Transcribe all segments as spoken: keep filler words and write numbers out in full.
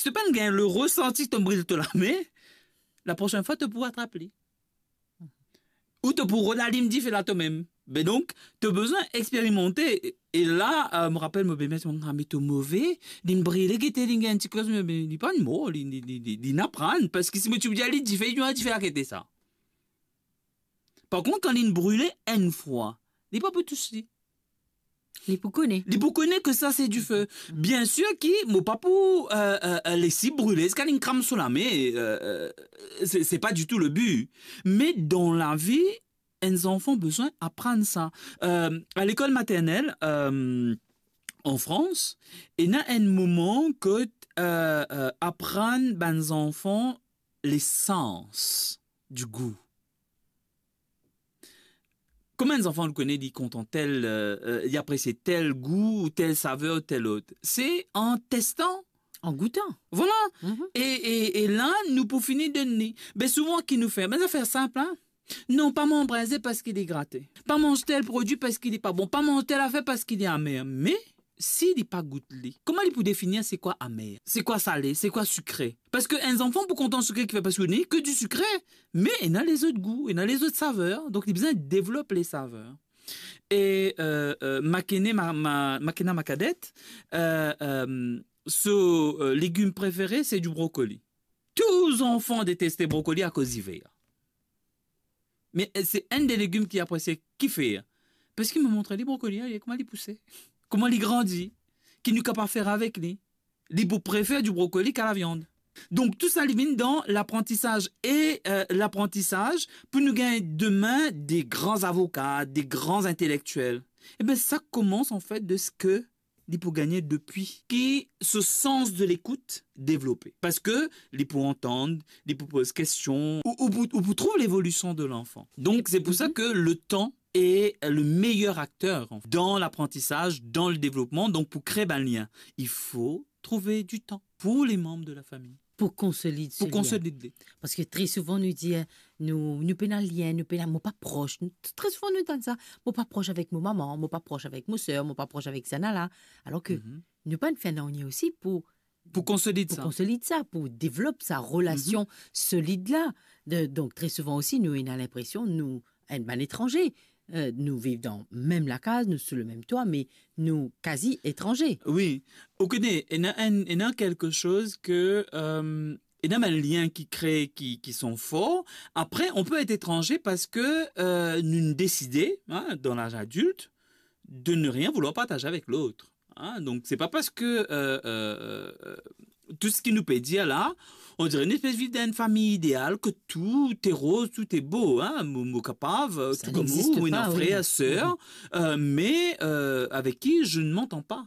Si to pa'nn gagn le resanti ki to bril to lame, la prosenn fwa to pou atrap li. Ou to pou rod alim dife la to mem. Be donk, to bizin experimante. E la, eh, mo rapel mo bemer ti dir, "Ah, me to move, li'nn brile, gete, li'nn gagn ti koz, me, me li pa'nn mor, li, li, li, li, li'nn aprann, parski si mo ti pou dir li dife, li dife akete sa." Par kont, kan li'nn brile enn fwa, li pa pou tous li. Li pou kone. Li pou kone ke sa se dife. Biensir ki mo pa pou, eh, eh, eh, les li brile ziska li'nn kram so lame, eh, eh, se, se pa ditou le bi. Me dan lavi, enn zanfan bizin aprann sa. Eh, a lekol maternel, eh, an Frans, ena enn moman kot, eh, eh, aprann bann zanfan les sens du goût. Kouma enn zanfan, ou kone, li kontan tel, eh, eh, li apresie tel gou, ou tel saver, ou tel lot? Se an testan. An goutan. Vwala. Mhm. E, e, e la, nou pou fini donn li. Be souvan, ki nou fer? Bann zafer sinp, la. Non, pa manz brinze parski li grate. Pa manz tel prodwi parski li pa bon. Pa manz tel zafer parski li amer. Me, si li pa gout li, kouma li pou definir se kwa amer, se kwa sale, se kwa sikre? Parski enn zanfan pou kontan sikre ki fer parski li ke di sikre, me ena lezot gou, ena lezot saver, donk li bizin devlop le saver. E, eh, eh, Makena, ma, ma, Makena, ma kadet, eh, eh, so, eh, legim prefere, se di brokoli. Tou zanfan deteste brokoli akoz li ver. Me, eh, se enn de legim ki apresie, ki fer? Parski mo montre li brokoli, eh, kouma li pouse, kouma li grandi, ki nou kapav fer avek li. Li pou prefer di brokoli ka laviann. Donk, tou sa, li vinn dan laprantisaz. E, eh, laprantisaz, pou nou gagn demin de gran zavoka, de gran intelektiel, e be, sa koumans, an fet, de se ke li pou gagne depi ki so sans de lekout devlope. Parski li pou antann, li pou poz kestion, ou, ou pou, ou pou trouv levolision de lanfan. Donk, se pou sa ke le tan est le meilleur acteur, en fait, dans l'apprentissage, dans le développement. Donk, pou kre bann lien, il faut trouver du temps pour les membres de la famille. Pou konsolid so lien. Pou konsolid li. Parski tre souvan nou dir, eh, nou, nou pena lien, nou pena, mo pa pros. Nou, tre souvan nou tann sa, mo pa pros avek mo mama, mo pa pros avek mo ser, mo pa pros avek sa la. Alor ke nou pa'nn fer nanye osi pou, pou konsolid sa, pou devlop sa relasion solid la. De, donk, tre souvan osi, nou ena linpresion, nou, enn bann etranze. Eh, nou viv dan mem lakaz, nou sou le mem twa, me nou kazi etranze. Wi. Ou kone, ena enn, ena kelke soz ke, eh, ena bann lien ki kre, ki, ki sont forts. Après, on peut être étranger parce que, eh, nou deside, hein, dans l'âge adulte, de ne rien vouloir partager avec l'autre. Hein, donk, se pa parski, eh, eh, eh, tou seki nou pe dir la, on dirait nou pe viv dan enn fami ideal, ke tout est rose, tout est beau, hein, mo, mo kapav, eh, tou kouma ou, wi, frer, ser, eh, me, eh, avec qui je ne m'entends pas.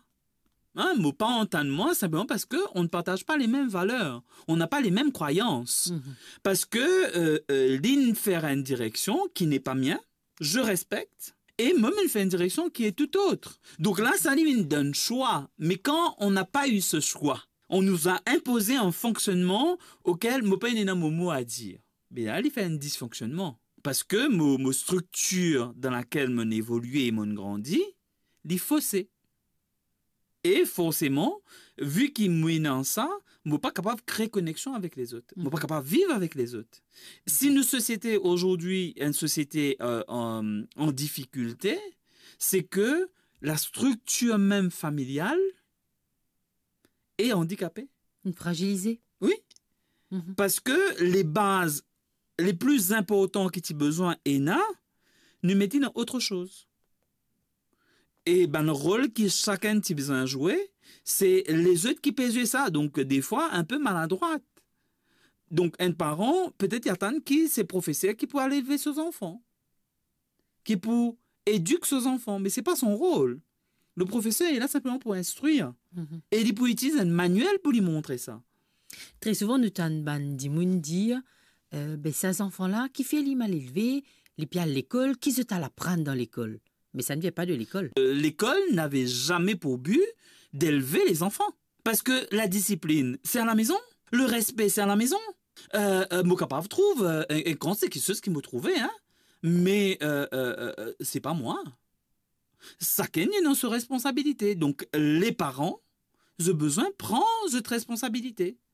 Hein, mo pa antann mwa, sinpleman parski on ne partage pas les mêmes valeurs, on n'a pas les mêmes croyances. Parski, eh, eh, li'nn fer enn direksion ki n'est pas mien, je respecte, e mo, mo'nn fer enn direksion ki est tout autre. Donk la, sa li vinn donn swa. Me kan on n'a pas eu ce choix, on nous a imposé un fonctionnement auquel mo pa'nn ena mo mo a dir. Be la, li fer enn disfonksionnman. Parski mo, mo structure dans laquelle mo'nn evolie e mo'nn grandi, li fose. E forseman, vi ki mo ena sa, mo pa kapav kre koneksion avek lezot. Mo pa kapav viv avek lezot. Si nou sosiete azordi, enn sosiete, eh, an, an difikilte, se ke la striktir mem familial est handicapée. Fragilize. Wi. Parski le baz le pli inportan ki ti bizin ena, nou met li dan otre soz. E bann rol ki sakenn ti bizin zwe, se lezot ki pe zwe sa, donk defwa enn pe maladrwat. Donk enn paran, petet li atann ki se profeser ki pou al elve so zanfan, ki pou edik so zanfan, me se pa son rol. Le profeser li la sinpleman pou instrir. E li pou itiliz enn manuel pou li montre sa. Tre souvan, nou tann bann dimoun dir, eh, be sa zanfan la, kifer li mal elve, li pe al lekol, ki zot al aprann dan lekol? Me sa ne vient pas de l'école. Eh, l'école n'avait jamais pour but d'élever les enfants. Parski la disiplin, se a la mezon. Le respe, se a la mezon. Eh, eh, mo kapav trouv, eh, enn, enn kantite kiksoz ki mo trouve, hein. Me, eh, eh, eh, eh, se pa mwa. Sakenn ena so responsabilite. Donk, le paran, zot bizin pran zot responsabilite.